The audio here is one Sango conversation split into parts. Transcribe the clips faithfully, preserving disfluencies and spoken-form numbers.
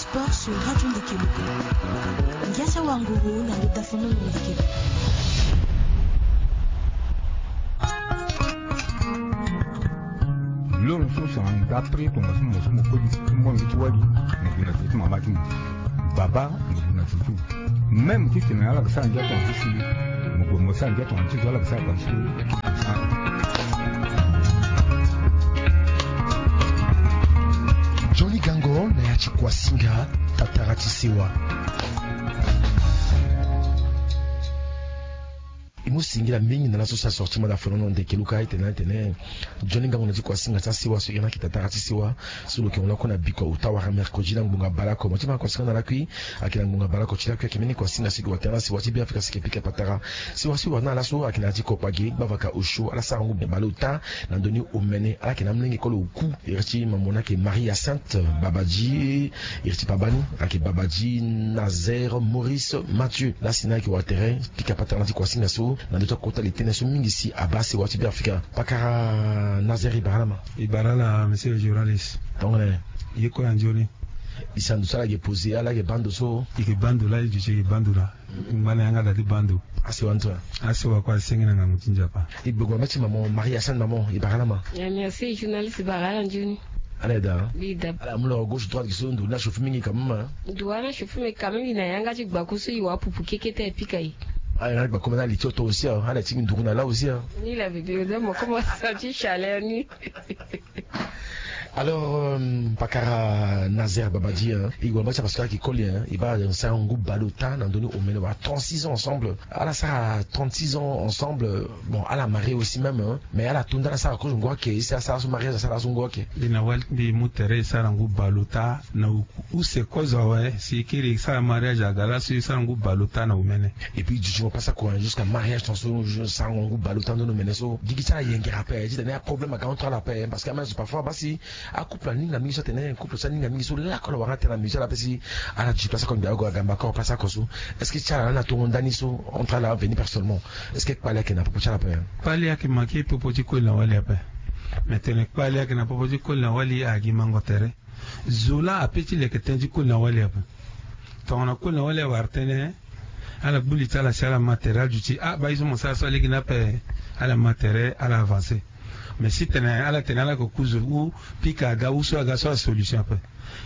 Sport sur Radio Ndeke Loko. Ngiasa Wanguru na Lota Fonono Ndeke Loko. Loro so sara ndapre tongaso mo so mo koli ti mo ngi ti wali. Mo gue na tere ti mama ti mo. Baba mo gue na tere ti mo. Même ti tene ala ga sara ngia tonga ti si. Mo gue mo sara ngia tonga ti so ala ga sara tonga ti so. Johnny Gango na ya ti Kuasinga, tatara ti sewa. E mu singila mingi na laso si asorti manda fonono ndeke luka e tene na e tene. Johnny Gango na ti Kuasinga ti asewa so e yeke na ki tatara ti sewa. So lo yeke hunda kue na bikua ota wala mercredi na ngbonga baleoko mo ti ma Kuasinga na lakui. Ayeke na ngbonga baleoko ti lakui ayeke mbeni Kuasinga si e gue wa tere na sewa ti Beafrika si e yeke pika patara. Sewa so e wara na ala so ayeke na ya ti Kopage, Gbavaka, Osio, ala sara ngu baleota na ndö ni omene. Ala yeke na amolenge kue lo ku. Iri ti mamo ni ayeke Marie Hyacinthe Babadi. Iri ti baba ni ayeke Babadi Nazaire Maurice Mathieu. Lasi ni ayeke wa tere pika patara na ti Kuasinga so na ndö ti akota li tënë so mingi si abaa sewa ti Beafrika. Pakara Nazaire, e bara ala ma? E bara ala, monsieur le journaliste. Tongana nyen? Ye kue na nzoni. E sara ndo so ala yeke poser, ala yeke baa ndo so? E yeke baa ndo laa, e duti e yeke baa ndo laa. Ngba na yanga da ti baa ndo. Asewa ni so? Asewa kue asenge na ngangu ti Nzapa. E gbe gue na mbeti mamo Marie Hyacinthe, mamo, e bara ala ma? Ya, merci journaliste, e bara ala nzoni. Ala yeda? Bi da. Ala mu lo gauche droite gi so ndo ni achauffer mingi quand même, hein? Ndo wani achauffer, mais quand même e na yanga ti gbaku so e wa pupu kekete e pika e. Ala na gbaku, mais na li ti oto aussi, hein? Ala ti gi nduru na la aussi, hein? Ni la bébé, on dirait mo commence à sentir chaleur ni. Alors, euh, pakara Nazaire Babadi, hein, e gue na mbeti parce que ayeke koli, hein, e baa sara ngu baleota na ndö ni omene wala trente-six ans ensemble. Ala sara trente-six ans ensemble. Bon, ala marie aussi même, hein, mais ala to nda ala sara kozo ngu ake, e si asara so mariage asara so ngu ake. Mbi na wali ti mbi e mu tere e sara ngu baleota na use kozo awe, si e kiri e sara mariage aga laso e sara ngu baleota na omene. Et puis e duti mo pasa kua jusqu'à mariage tongaso, sarango ngu baleota ndö ni omene so gigi ti ala yengere ape, titene aproblème aga entre ala ape, parce que amene so parfois baa si acouple aninga mingi so atene couple so aninga mingi so lakue ala wara atene na musicien ala ape si ala duti place oko mbi ago agamba oko place oko so. Est-ce que ti ala lani atongo ndani so entre ala veni personnellement? Est-ce que kpale ayeke na popo ti ala ape? Kpale ayeke manke popo ti koli na wali ape. Mais tene kpale ayeke na popo ti koli na wali agi mango tere. Zo laa ape ti leke tënë ti koli na wali ape. Tongana koli na wali awara tënë, ala gbu li ti ala si ala ma tere, ala duti ah baa ye so mo sara so alege ni ape. Ala ma tere, ala avancer. Mais si tene ala tene ala yeke ku zo ou pika aga ou so aga so asolution ape.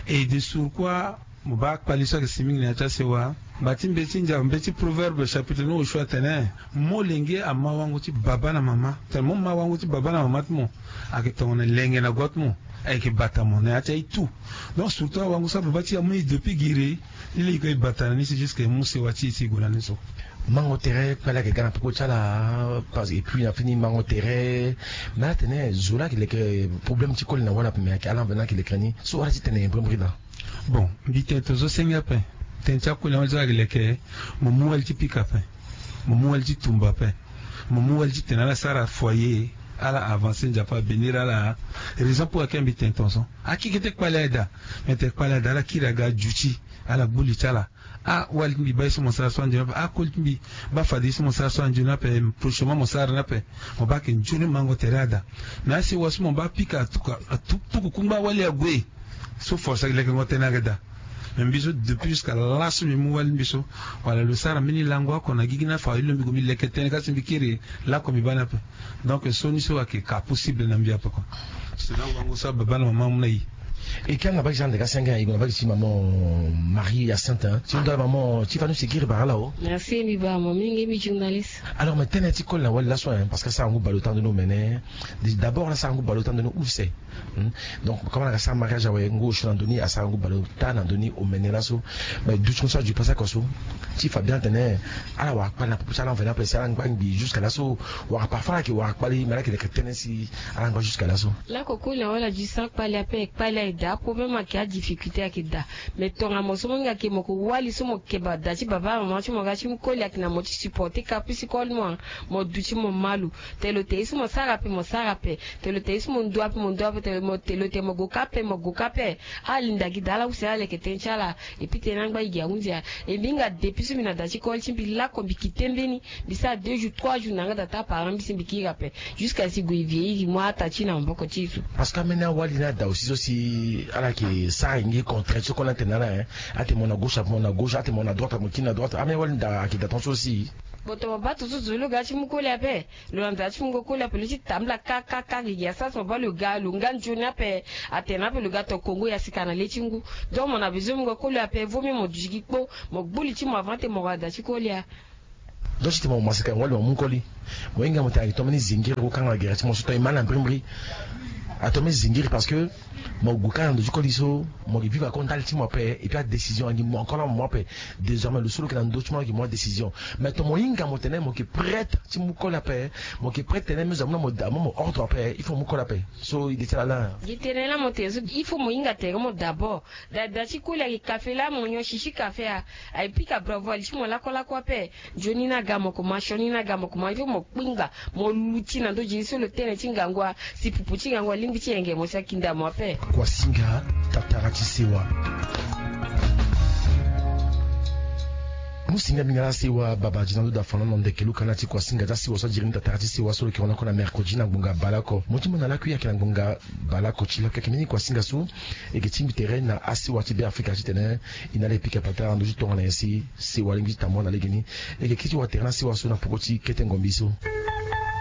Et de surcroît mo baa kpali so ayeke si mingi na ya ti asewa. Ngba ti mbeti ndia mbeti Proverbe chapitre ni osio atene, molenge ama wango ti baba na mama. Tene mo ma wango ti baba na mama ti mo, ayeke tongana lenge na gua ti mo. Ayeke bata mo na ya ti aye tout. Donc surtout awango so ababa ti e amu e depuis giri. Ni lege e bata na ni si jusque e mu sewa ti e si e gue na ni so. Mango tere kpale ayeke ga na popo ti ala. Parce que et puis na fini mango tere. Mais ala tene zo laa ayeke leke problème ti koli na wali ape, mais ayeke ala mveni ayeke leke na ni so ala ti tene brimbri laa. Bon, mbi tene tongaso senge ape. Tene ti akoli na wali so ayeke leke, mo mu wali ti pika ape. Mo mu wali ti tumba ape. Mo mu wali ti tene ala sara foyer, ala avancer, Nzapa abénir ala. Raison pour laquelle mbi tene tongaso akekete kpale aye daa. Mais tene kpale aye daa ala kiri aga aduti, ala gbu li ti ala. Ah wali ti mbi baa ye so mo sara so anzoni ape. Ah koli ti mbi baa fade ye so mo sara so anzoni ape. Prochainement mo sara ni ape. Mo baa ayeke nzoni mango tere aye daa. Mais asewa so mo baa pika atuku, atuku kungba wali ague. So force ayeke lekengo tënë ayeke daa. Mais mbi so depuis jusqu'à laso mbi mu wali ti mbi so, wala lo sara mbeni lango oko na gigi ni afa ye lo mbi gue mbi leke tënë ka si mbi kiri lakue mbi baa ni ape. Donc so ni so ayeke ka possible na mbi ape kua. Sera wango so ababa na mama amu na e. E ke anga bagi ti ande ka senge e gue na bagi ti maman Marie Hyacinthe, hein. Ti hunda maman ti fani si e kiri bara ala o. Merci mbi bara mo mingi mbi journaliste. Alors mais tënë ti koli na wali laso, hein, parce que asara ngu baleota ndoni omene. D'abord ala sara ngu baleota ndoni use. Hmm? Donc comme ala ga sara mariage awe ngu osio na ndoni asara ngu baleota na ndoni omene laso. Mais dutingo so aduti pasa oko so ti fa bien atene ala wara kpale na popo ti ala mveni ape si ala ngba ngbi jusqu'à laso. Wala parfois ala yeke wara kpale mais ala yeke leke tënë si ala ngba jusqu'à laso. Lakue koli na wali aduti sara kpale ape, kpale ayeke daa, problème ayeke, adifficulté ayeke daa. Mais tongana mo so mo hinga ke mo ko wali so mo keba da ti baba na mama ti mo ga ti mu koli ayeke na mo ti supporter ka plus ti koli mo. Mo duti mo malu. Tene lo tene ye so mo sara ape mo sara ape. Tene lo tene ye so mo ndu ape mo ndu ape. Tene lo tene mo gue ka ape mo gue ka ape. Ala linda gi daa ala use ala leke tënë ti ala. Et puis tënë ni angba e gi ahunzi ya. E mbi hinga depuis so mbi na da ti koli ti mbi lakue mbi kite mbeni. Mbi sara deux jours trois jours na yanga da ti aparent mbi si mbi kiri ape. Jusqu'à si gue e vieillir e mu ata ti e na maboko ti e so. Parce que ambeni awali ni ada aussi so si Ala yeke sara gi contrainte so koli atene na ala, eh. Atene mo na gauche, mo na gauche, atene mo na droite, mo kiri na droite. Ame wali nda ayeke da ton so si. Boto mo baa tonso zo lo ga ti mu koli ape. Lo na nzara ti mungo koli ape, lo ti tambula kakaka gigi asara si mo baa lo ga lo nga nzoni ape. Atene na ape lo ga to kongo ya sika na le ti ngu. Donc mo na besoin mungo koli ape, vaut mieux mo duti gi kpo. Mo gbu li ti mo avant te mo wara da ti koli a. Donc ti tene mo masika ngoli mo mu koli. Mo hinga mo tene ayeke tombeni zingiri ko kanga gere ti mo so to e ma na mbirimbiri. Atombe zingiri parce que mo gue kanga na ndo ti koli so. Mo ke vivre ako ndali ti mo ape. Et puis adécision angi mo encore na mo ape. Désormais lo so lo ke na ndo ti mo lo ke mo adécision. Mais to mo hinga mo tene mo ke prête ti mu koli ape. Mo ke prête tene me zo amu na mo da mo mo ordre ape il faut mu koli ape. So ide ti ala la. Gi tene la mo tene so il faut mo hinga tere mo d'abord. Dada ti koli ayeke kafe la mo nyon sisi kafe a. Ayeke pika bravo ali ti mo lakolako ape. Nzoni ni aga mo koma sioni ni aga mo koma il faut mo kpingba. Mo luti na ndo jeli so lo tene ti ngangu a. Si pupu ti ngangu alingbi ti yenge mo si akinda mo ape. Kuasinga, tatara ti sewa. Mu singa mbinga la sewa baba di na ndo da fana na ndeke luka na ti kuasinga ti asewa so adiri ni tatara ti sewa so lo ke rona oko na mercredi na ngbonga baleoko mo ti mo na lakui ayeke na ngbonga baleoko ti lakui ayeke mbeni kuasinga so. E ke tingbi tere na asewa ti be afrika titene e na ala e pika patara na ndo ti tongana nyen si sewa alingbi ti tambula na legeni. E ke kiri ti wa tere na asewa so na poko ti kete ngombi so.